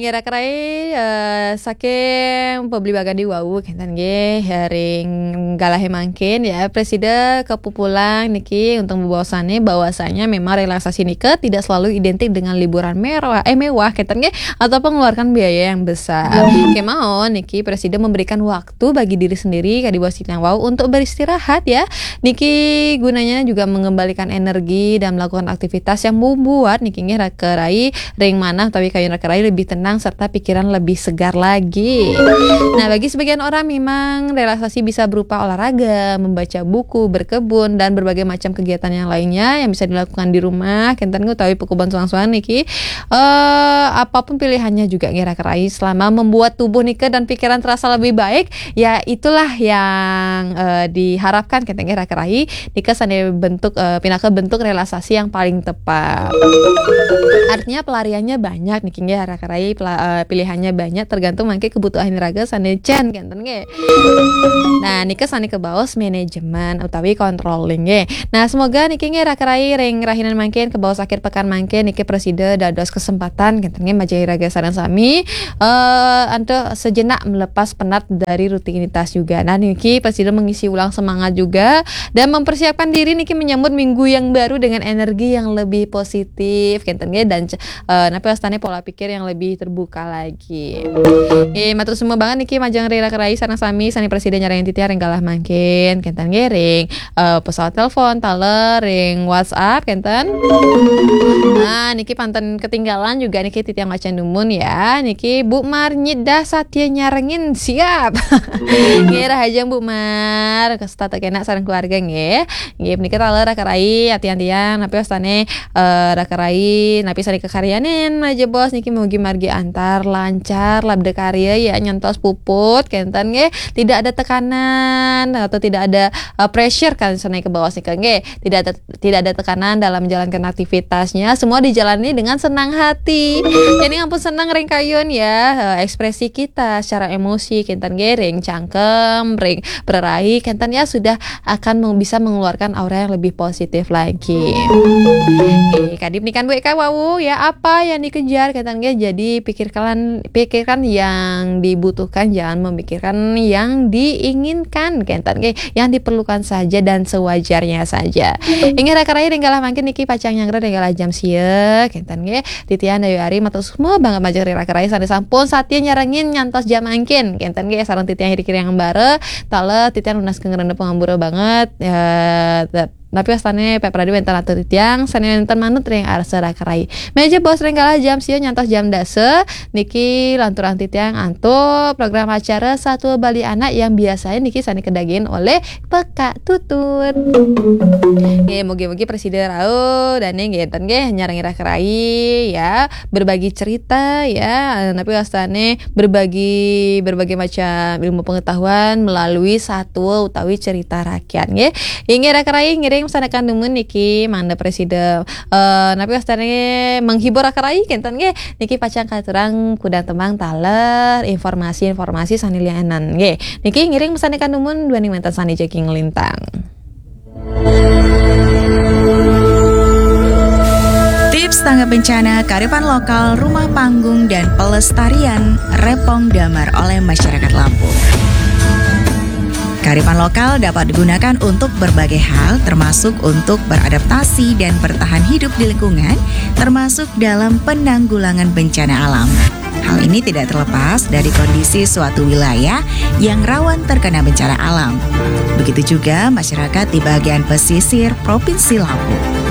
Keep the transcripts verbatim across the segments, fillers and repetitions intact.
Kira-kira eh, saking pebli bagandi wau kenten nggih, ring galahé mangkin ya, Presida kepupulang niki untuk membawasanya memang relaksasi nika tidak selalu identik dengan liburan merah, eh mewah kenten nggih, atau mengeluarkan biaya yang besar. Kemawon niki Presida memberikan waktu bagi diri sendiri kadi bos titiang wau untuk beristirahat ya. Niki gunanya juga mengembalikan energi dan melakukan aktivitas yang membuat niki nggih raka rai ring manah utawi kayun raka rai lebih tenang serta pikiran lebih segar lagi. Nah, bagi sebagian orang memang relaksasi bisa berupa olahraga, membaca buku, berkebun, dan berbagai macam kegiatan yang lainnya yang bisa dilakukan di rumah, kenten utawi pekubuhan suang-suang niki. Eh, apapun pilihannya juga nggih raka rai, selama membuat tubuh nika dan pikiran terasa lebih baik, ya itulah yang eh, diharapkan kenten nggih raka rai. Nika sané bentuk eh, pinaka bentuk relaksasi yang paling tepat. Artinya pelariannya banyak niki nggih raka rai, pela- eh, pilihannya banyak tergantung mangke kebutuhan raga sané cén kenten nggih. Nah, nika sané kebaos manajemen utawi controlling nggih. Nah, semoga niki nggih raka rai ring rahinan mangkin kebaos akhir pekan mangkin niki Presida dados kesempatan kenten nggih majeng raga sareng sami eh antuk sejenak melepas penat dari rutinitas juga. Nah, niki Presida mengisi ulang semangat juga dan mempersiapkan diri niki menyambut minggu yang baru dengan energi yang lebih positif kenten nggih dan eh napi wastané pola pikir yang lebih terbuka lagi. Nggih, matur suwun banget niki majeng ring raka rai sareng sami sané Presida nyarengin titiang ring galah mangkin kenten nggih ring eh, pesawat telepon, taler, ring WhatsApp kenten. Nah, niki panten ketinggalan juga niki titiang maca dumun ya. Niki Bu Mar nyidah satya nyarengin siap. Nggih rahajeng Bu Mar, kasta tekena sareng keluarga nggih. Nggih, menika taler raka rai, atian tiang napi wastané eh, raka rai napi sané kakaryanin majeng bos niki mugi margi antar lancar labda karya ya nyantos puput kenten nggih, tidak ada tekanan atau tidak ada eh, pressure kan sané kebaos nika nggih, tidak ada tidak ada tekanan dalam menjalankan aktivitasnya, semua dijalani dengan senang hati. Jadi ampun senang ring kayun ya eh, ekspresi kita secara emosi kenten nggih ring cangkem, ring prarahi kenten ya sudah akan meng- bisa mengeluarkan aura yang lebih positif lagi. Oke, kadip nikan Bu Eka wau ya apa yang dikejar kenten nggih jadi pikirkan pikirkan yang dibutuhkan jangan memikirkan yang diinginkan kenten nggih yang diperlukan saja dan sewajarnya saja. Inggih raka rai ring galah mangkin niki pacang nyanggra ring galah jam sia kenten nggih. Titiang Dayu Ari matur suwun banget majeng ring raka rai sané sampun satya nyarengin nyantos jam mangkin kenten nggih sareng titiang iri kiri yang embara taler titiang nunas kengeren pengambura banget ya. Napi wastané Pak Pradi wénten atur titiang sané wénten manut ring arsa raka rai. Majeng bos ring galah jam sia nyantos jam dasa niki lanturang titiang antuk program acara Satua Bali Anak yang biasanya niki sané kedagin oleh Pekak Tutut. Nggih, mugi-mugi Presida rauh dané nggih enten nggih nyarengin raka rai ya, berbagi cerita ya, napi wastané berbagi berbagai macam ilmu pengetahuan melalui satua utawi cerita rakyat nggih. Inggih raka rai ngiring pesan akan dumun niki mangda Presida eh napi wastané menghibur raka rai kenten nggih. Niki pacang katurang kudang tembang taler informasi-informasi sané lianan nggih. Niki ngiring pesan akan dumun duaning wénten sané jagi nglintang. Tips tanggap bencana, kearifan lokal, rumah panggung, dan pelestarian Repong Damar oleh masyarakat Lampung. Kearifan lokal dapat digunakan untuk berbagai hal, termasuk untuk beradaptasi dan bertahan hidup di lingkungan, termasuk dalam penanggulangan bencana alam. Hal ini tidak terlepas dari kondisi suatu wilayah yang rawan terkena bencana alam. Begitu juga masyarakat di bagian pesisir Provinsi Lampung.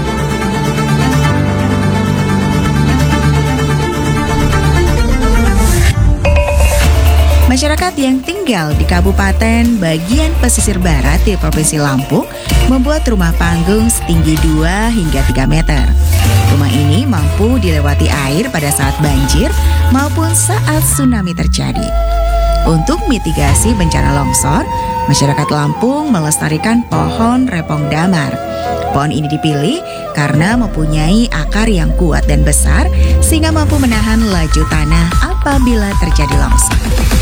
Masyarakat yang tinggal di Kabupaten bagian pesisir barat di Provinsi Lampung membuat rumah panggung setinggi dua hingga tiga meter. Rumah ini mampu dilewati air pada saat banjir maupun saat tsunami terjadi. Untuk mitigasi bencana longsor, masyarakat Lampung melestarikan pohon repong damar. Pohon ini dipilih karena mempunyai akar yang kuat dan besar sehingga mampu menahan laju tanah apabila terjadi longsor.